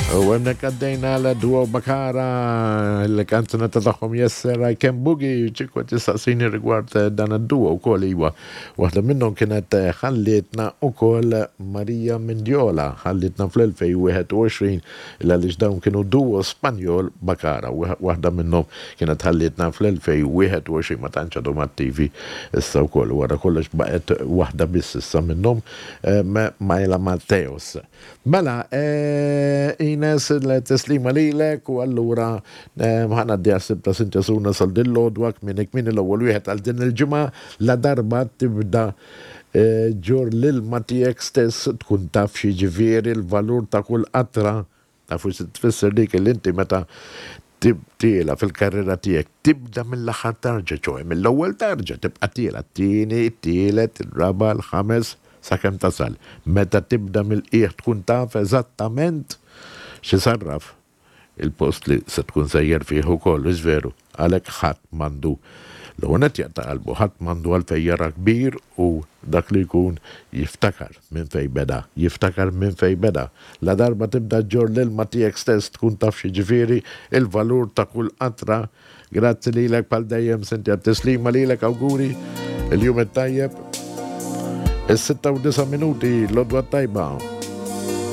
U hemmhekk għaddejna għal Duo Bakara, il-kanzunetta tagħhom Yes Sir I Can Boogie, ċikwa tistaqsini rigward dan id-duo wkoll iwa. Waħda minnhom kienet ħallietna wkoll Maria Mendiola, ħallietna fl-2021 il għaliex dawn kienu duo Spanjol Bakara. Waħda minnhom kienet ħallietna fl-2021 ma tantx għadhom attivi issa wkoll. Wara kollox baqgħet waħda biss issa minnhom Maila Mateos. Mela, Ines, il-tislima lilek u allura ħa ngħaddi għas-Sibt ta' Sintia Suna sal din l-għodwa kmieni kmieni l-ewwel wieħed għal din il-ġimgħa la darba tibda ġġorr l-ilma tiegħek stess tkun taf x'jiġifieri l-valur ta' kull qatra. Tafu xi tfisser dik li inti meta tiela' fil-karriera tiegħek tibda mill-aħħar tarġa, ċoe mill-ewwel tarġa tibqa' tiela' t-tieni, it-tielet, ir-raba', l-ħames, sakemm tasal. Meta tibda mill-qiegħ tkun taf eżattament x'isarraf il-post li se tkun sejjer fih ukoll, hux veru? Għalhekk ħadd m'għandu l-ewwel nett jaqta' qalbu, ħadd m'għandu għalfejn jara kbir u dak li jkun jiftakar minn fejn beda, jiftakar minn fejn beda. Ladarba tibda ġġorr l-ilma tiegħek stess tkun taf x'jiġifieri l-valur ta' kull qatra. Grazzi lilek bħal dejjem Cynthia, tislima lilek awguri il-jum it-tajjeb. Is-6 u 9 minuti l-għodwa t-tajba.